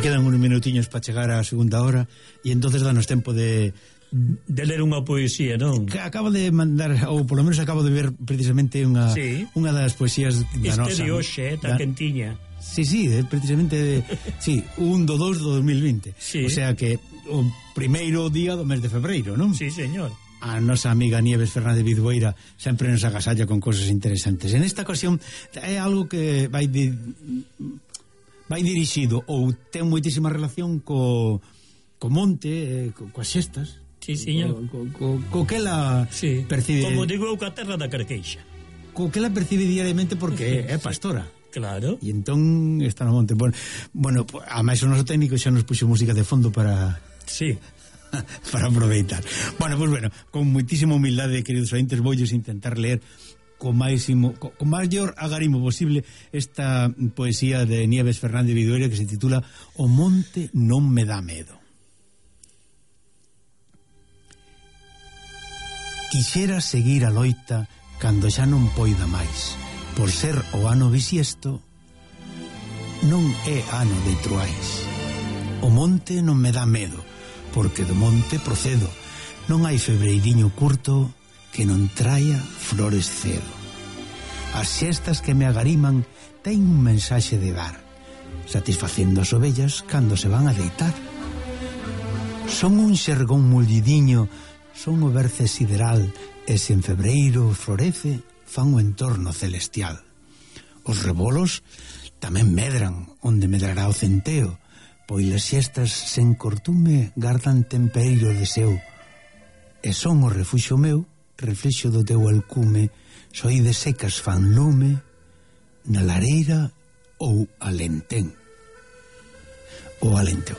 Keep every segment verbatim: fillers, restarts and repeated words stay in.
xa quedan uns minutiños para chegar á segunda hora e entonces danos tempo de de ler unha poesía, non? Acabo de mandar, ou polo menos acabo de ver precisamente unha sí. unha das poesías da nosa. Este de hoxe, está quentiña. Sí, sí, precisamente de, sí, un do dos do dos mil vinte. Sí. O sea que o primeiro día do mes de febreiro, non? Sí, señor. A nosa amiga Nieves Fernández Vidueira sempre nos agasalla con cosas interesantes. En esta ocasión é algo que vai de, vai dirixido ou ten moitísima relación co, co monte, co, coas xestas. Sí, señor. Co, co, co que ela sí. percibe. Como digo eu, ca terra da Carqueixa. Co que ela percibe diariamente porque é pastora. Claro. E entón está no monte. Bueno, bueno, a máis o noso técnico xa nos puxo música de fondo para... Sí. para aproveitar. Bueno, pois pues bueno, con moitísima humildade, queridos ointes, voulles intentar leer con máximo, con maior agarimo posible esta poesía de Nieves Fernández Vidueira que se titula O monte non me dá medo. Quixera seguir a loita cando xa non poida máis. Por ser o ano bisiesto, non é ano de truais. O monte non me dá medo, porque do monte procedo. Non hai febreiriño curto que non traia flores cedo. As xestas que me agariman ten un mensaxe de dar, satisfacendo as ovellas cando se van a deitar. Son un xergón mullidiño, son o berce sideral, e se en febreiro florece, fan o entorno celestial. Os rebolos tamén medran onde medrará o centeo, pois as xestas sen cortume gardan tempereiro de seu, e son o refuxo meu, reflexo do teu alcume, soide secas fan lume na lareira ou alentén. O alenteo.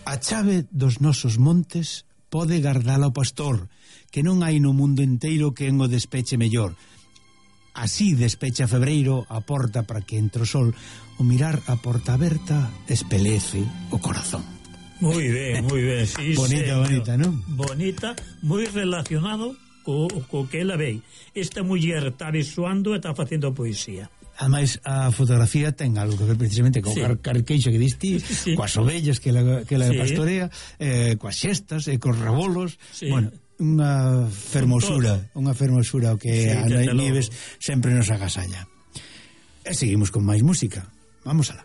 A chave dos nosos montes pode gardala o pastor, que non hai no mundo inteiro que en o despeche mellor. Así despecha febreiro a porta para que entre o sol. O mirar a porta aberta espelece o corazón. Moi ben, moi ben, sí, bonita, señor. bonita, non? Bonita, moi relacionado co, co que ela ve. Esta muller está visuando e está facendo poesía. Ademais, a fotografía ten algo que ver precisamente co sí. carqueixo que diste, sí. coas ovellas que ela, que ela sí. pastorea, eh, coas xestas, e cos rebolos, sí. bueno, unha fermosura, unha fermosura o que sí, a Nieves sempre nos agasalla. E seguimos con máis música. Vamos alá.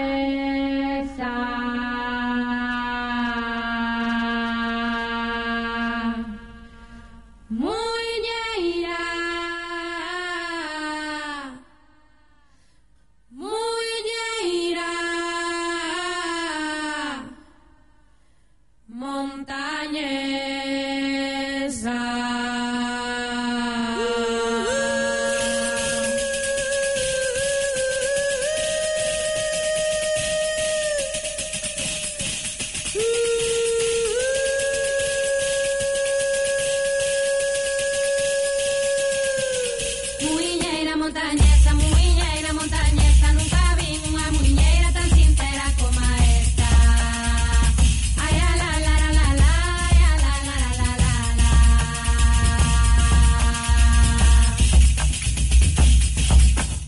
Montañesa, muñeira, muñeira, montañesa. Montañesa, muñeira, montañesa, nunca vi unha muñeira tan sincera como esta. Ay, la la la la la, ay, la la la la la la.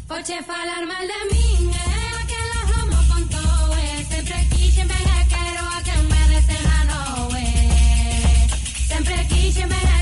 Poche falar mal de min, eh, que la homo contou, eh, sempre quixen ben e quero a que me desen a noe. Sempre quixen ben e